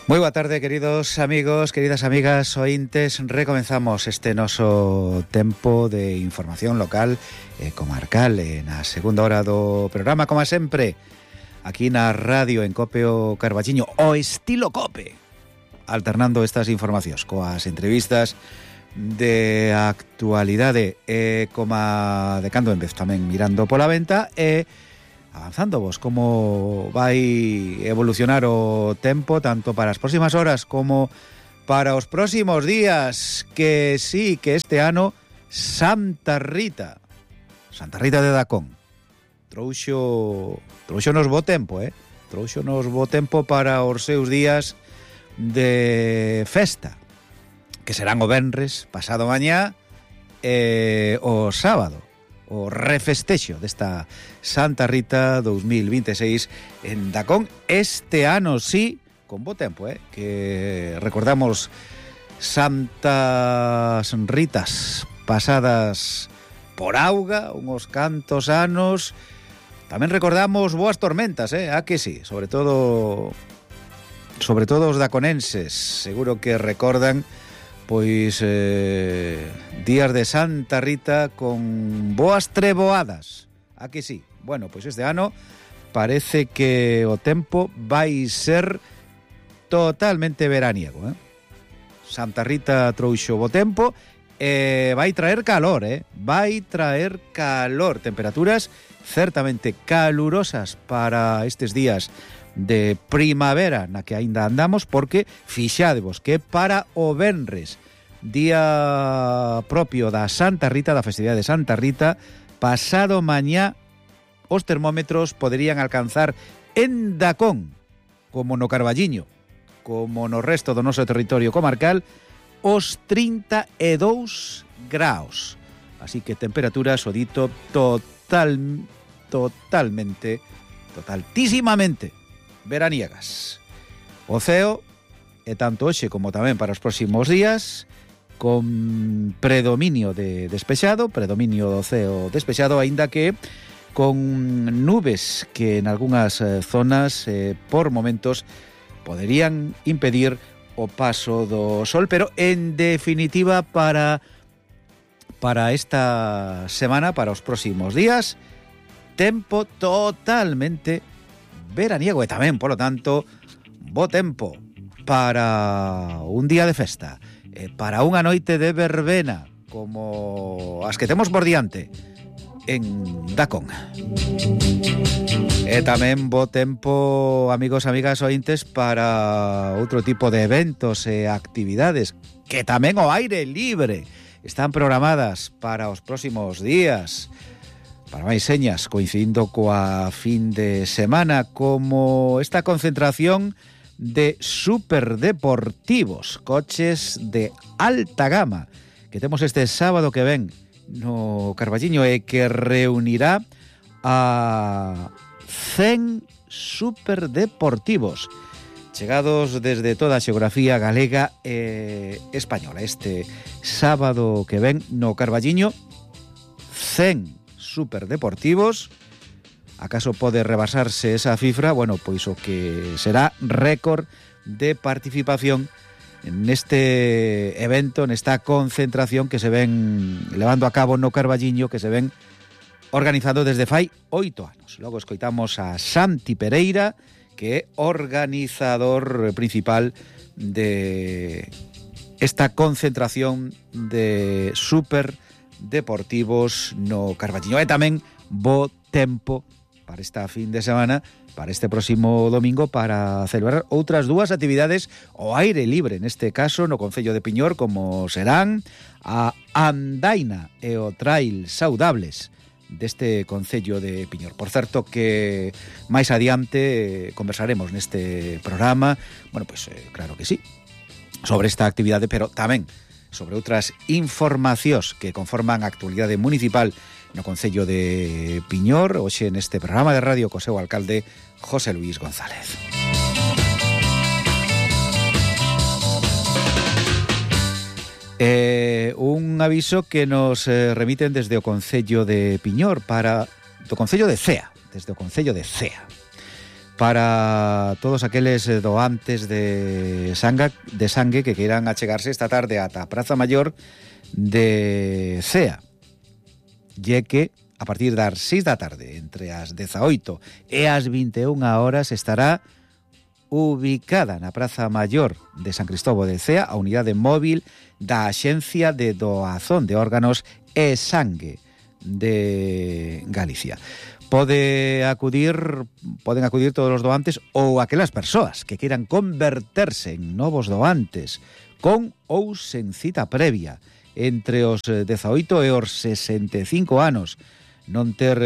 Moi boa tarde, queridos amigos, queridas amigas, ointes. Recomenzamos este noso tempo de información local e comarcal na segunda hora do programa, como sempre, aquí na radio en Cope o Carballiño, o estilo Cope, alternando estas informacións coas entrevistas de actualidade como de cando en vez tamén mirando pola venta e avanzando vos como vai evolucionar o tempo tanto para as próximas horas como para os próximos días, que sí, que este ano Santa Rita de Dacón trouxonos bo tempo, trouxonos bo tempo para os seus días de festa, que serán o venres, pasado mañá e o sábado, o refestexo desta Santa Rita 2026 en Dacón. Este ano sí, con bo tempo, que recordamos Santas Ritas pasadas por auga, uns cantos anos. Tamén recordamos boas tormentas, a que sí, sobre todo os daconenses, seguro que recordan pois días de Santa Rita con boas treboadas, a que sí. Bueno, pois este ano parece que o tempo vai ser totalmente veraniego, Santa Rita trouxo bo tempo e vai traer calor, vai traer calor, temperaturas certamente calurosas para estes días de primavera na que aínda andamos, porque fixádevos que para o venres, día propio da Santa Rita, da festividade de Santa Rita, pasado mañá os termómetros poderían alcanzar en Dacón, como no Carballiño, como no resto do noso territorio comarcal, os 32 graus. Así que temperaturas, o dito, totaltísimamente veraniegas. O ceo é tanto hoxe como tamén para os próximos días con predominio de despexado, predominio do ceo despexado, aínda que con nubes que en algunhas zonas por momentos poderían impedir o paso do sol, pero en definitiva para esta semana, para os próximos días, tempo totalmente veraniego e tamén, polo tanto, bo tempo para un día de festa, para unha noite de verbena como as que temos por diante en Dacón. E tamén bo tempo, amigos, amigas, ointes, para outro tipo de eventos e actividades que tamén ao aire libre están programadas para os próximos días. Para máis señas, coincidindo coa fin de semana, como esta concentración de superdeportivos, coches de alta gama, que temos este sábado que ven no Carballiño e que reunirá a 100 superdeportivos chegados desde toda a xeografía galega e española. Este sábado que ven no Carballiño, 100 superdeportivos. Acaso pode rebasarse esa cifra? Bueno, pois o que será récord de participación neste evento, nesta concentración que se ven levando a cabo no Carballiño, que se ven organizando desde fai 8 anos. Logo escoitamos a Santi Pereira, que é organizador principal de esta concentración de superdeportivos no Carballiño. E tamén bo tempo para esta fin de semana, para este próximo domingo, para celebrar outras dúas actividades ao aire libre, neste caso no concello de Piñor, como serán a andaina e o trail saudables deste concello de Piñor. Por certo que máis adiante conversaremos neste programa, bueno, pois claro que sí, sobre esta actividade, pero tamén sobre outras informacións que conforman a actualidade municipal no concello de Piñor, hoxe neste programa de radio co seu alcalde José Luis González. Un aviso que nos remiten desde o concello de Piñor do concello de Cea, desde o concello de Cea. para todos aqueles doantes de sangue que queiran achegarse esta tarde ata a Praza Maior de Cea. E que a partir das 6 da tarde, entre as 18 e as 21 horas, estará ubicada na Praza Maior de San Cristóbal de Cea a unidade móvil da Axencia de Doazón de Órganos e Sangue de Galicia. Poden acudir todos os doantes ou aquelas persoas que queiran converterse en novos doantes con ou sen cita previa entre os 18 e os 65 anos, non ter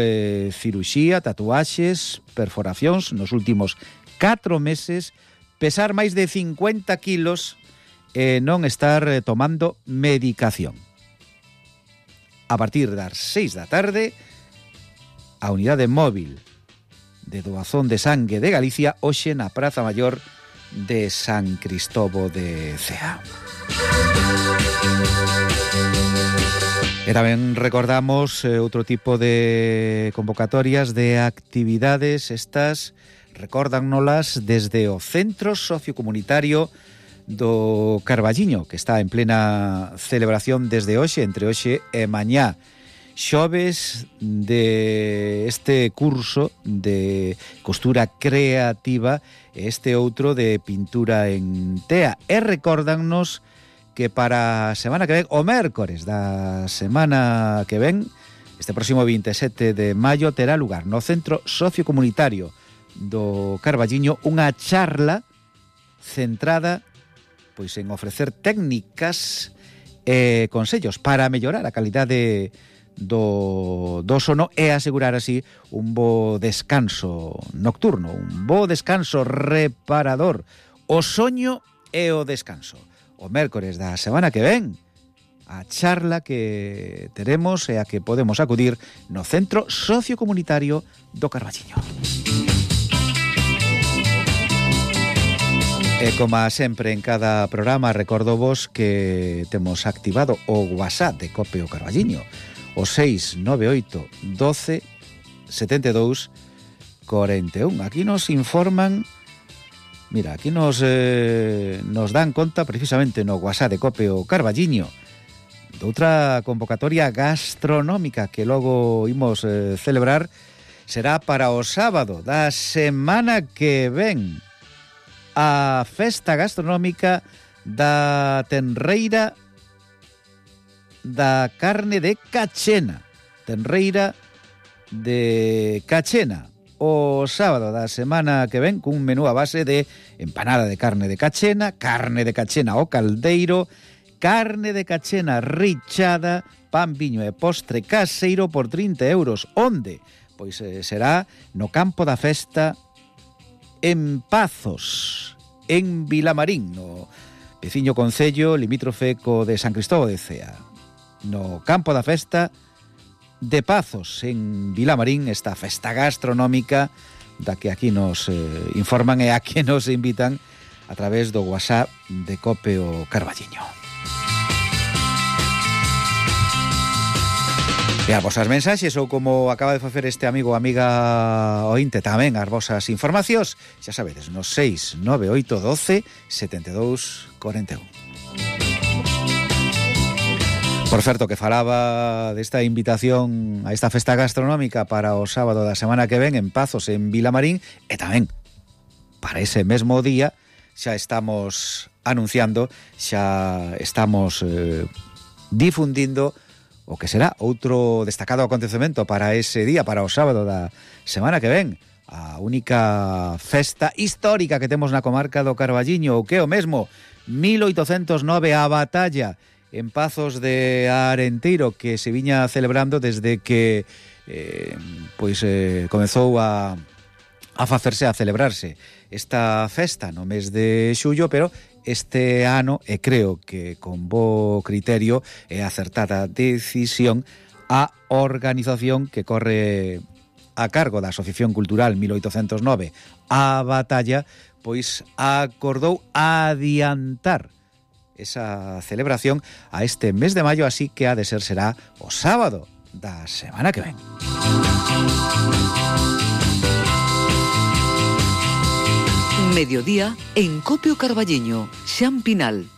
ciruxía, tatuaxes, perforacións nos últimos 4 meses, pesar máis de 50 kilos e non estar tomando medicación. A partir das 6 da tarde, a unidade móvil de doazón de sangue de Galicia hoxe na Praza Maior de San Cristóbal de Cea. E tamén recordamos outro tipo de convocatorias de actividades. Estas recórdannolas desde o Centro Sociocomunitario do Carballiño, que está en plena celebración desde hoxe, entre hoxe e mañá. Xoves de este curso de costura creativa e este outro de pintura en tea. E recórdannos que para a semana que ven, o mércores da semana que ven, este próximo 27 de maio, terá lugar no Centro Sociocomunitario do Carballiño unha charla centrada pois en ofrecer técnicas e consellos para mellorar a calidade do sono e asegurar así un bo descanso nocturno, un bo descanso reparador, o soño e o descanso. O mércores da semana que ven, a charla que teremos e a que podemos acudir no Centro Sociocomunitario do Carballiño. E como sempre en cada programa, recordo vos que temos activado o WhatsApp de Cope o Carballiño, o 698 12 72 41. Aquí nos informan, mira, aquí nos dan conta precisamente no WhatsApp de Cope o Carballiño de outra convocatoria gastronómica que logo imos celebrar. Será para o sábado da semana que ven, a festa gastronómica da tenreira da carne de Cachena. Tenreira de Cachena o sábado da semana que ven, cun menú a base de empanada de carne de Cachena ao caldeiro, carne de Cachena richada, pan, viño e postre caseiro por 30 euros. Onde? Pois será no campo da festa en Pazos, en Vilamarín, no veciño concello limítrofe co de San Cristóbal de Cea. No campo da festa de Pazos, en Vilamarín, esta festa gastronómica da que aquí nos informan e a que nos invitan a través do WhatsApp de Cope o Carballiño. E as vosas mensaxes, ou como acaba de facer este amigo ou amiga ointe tamén, as vosas informacións, xa sabedes, no 698 12 72 41. Por certo, que falaba desta invitación a esta festa gastronómica para o sábado da semana que ven en Pazos, en Vilamarín, e tamén para ese mesmo día xa estamos anunciando, xa estamos difundindo o que será outro destacado acontecemento para ese día, para o sábado da semana que ven, a única festa histórica que temos na comarca do Carballiño, o que é o mesmo, 1809, a batalla en Pazos de Arenteiro, que se viña celebrando desde que comezou a facerse, a celebrarse esta festa no mes de xullo, pero este ano, e creo que con bo criterio e acertada decisión, a organización que corre a cargo da Asociación Cultural 1809 a batalla, pois acordou adiantar esa celebración a este mes de maio, así que ha de ser será o sábado da semana que ven. Mediodía en Copio Carballiño, Xan Pinal.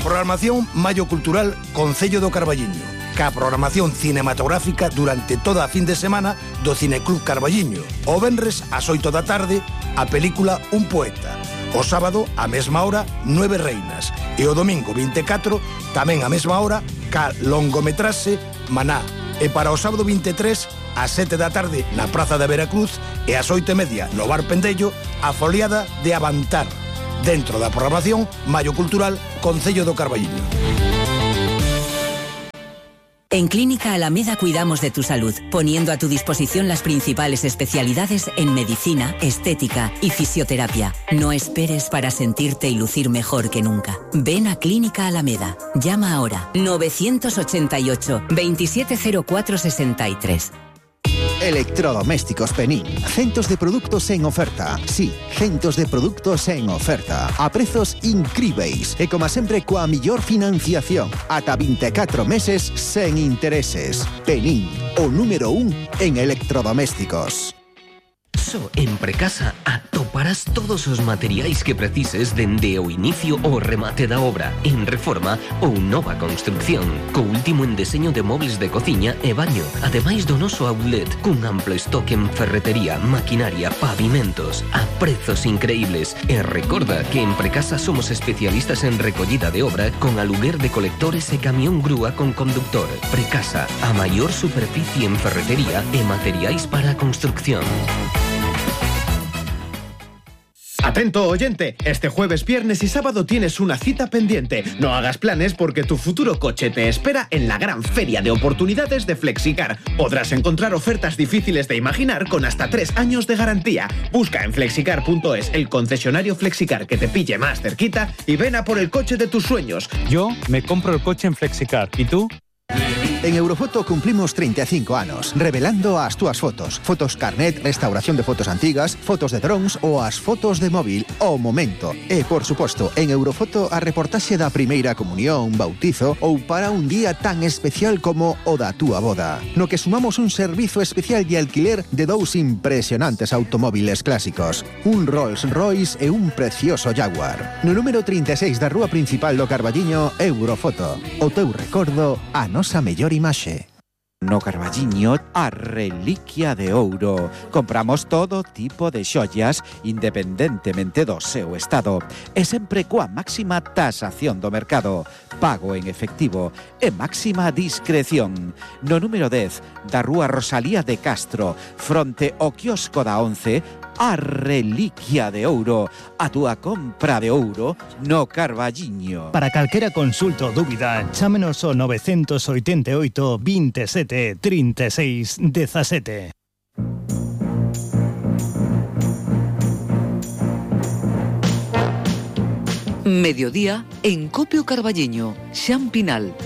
Programación Maio Cultural Concello do Carballiño. Ca programación cinematográfica durante toda a fin de semana do Cineclub Carballiño. O venres ás 8 da tarde, a película Un Poeta. O sábado, a mesma hora, Nueve Reinas. E o domingo 24, tamén a mesma hora, ca longometraxe Maná. E para o sábado 23, ás 7 da tarde, na Praza da Veracruz, e ás 8:30, no Bar Pendello, a foliada de Avantar. Dentro da programación Maio Cultural Concello do Carballiño. En Clínica Alameda cuidamos de tu salud, poniendo a tu disposición las principales especialidades en medicina, estética y fisioterapia. No esperes para sentirte y lucir mejor que nunca. Ven a Clínica Alameda. Llama ahora 988 270463. Electrodomésticos Penín. Centos de productos en oferta. Sí, centos de productos en oferta. A prezos incríveis. E como sempre coa millor financiación. Ata 24 meses sen intereses. Penín, o número 1 en electrodomésticos. Só en Precasa atoparás todos os materiais que precises dende o inicio ao remate da obra, en reforma ou nova construcción, co último en deseño de mobles de cociña e baño, ademais do noso outlet, cun amplo stock en ferretería, maquinaria, pavimentos, a prezos increíbles. E recorda que en Precasa somos especialistas en recollida de obra con aluguer de colectores e camión grúa con conductor. Precasa, a maior superficie en ferretería e materiais para a construcción. Atento oyente, este jueves, viernes y sábado tienes una cita pendiente. No hagas planes porque tu futuro coche te espera en la gran feria de oportunidades de Flexicar. Podrás encontrar ofertas difíciles de imaginar con hasta 3 años de garantía. Busca en flexicar.es el concesionario Flexicar que te pille más cerquita y ven a por el coche de tus sueños. Yo me compro el coche en Flexicar. ¿Y tú? En Eurofoto cumplimos 35 anos, revelando as túas fotos. Fotos carnet, restauración de fotos antigas, fotos de drones ou as fotos de móvil ao momento. E, por suposto, en Eurofoto a reportaxe da primeira comunión, bautizo ou para un día tan especial como o da túa boda. No que sumamos un servizo especial de alquiler de 2 impresionantes automóviles clásicos. Un Rolls Royce e un precioso Jaguar. No número 36 da rúa principal do Carballiño, Eurofoto. O teu recordo, a nosa mellor imaxe. No Carballiño, a reliquia de ouro. Compramos todo tipo de xollas independentemente do seu estado e sempre coa máxima tasación do mercado, pago en efectivo e máxima discreción. No número 10 da rúa Rosalía de Castro, fronte ao quiosco da 11, a reliquia de ouro, a túa compra de ouro no Carballiño. Para calquera consulta ou dúbida, chámenos ao 988 27 36 17. Mediodía en Copio Carballiño, Xan Pinal.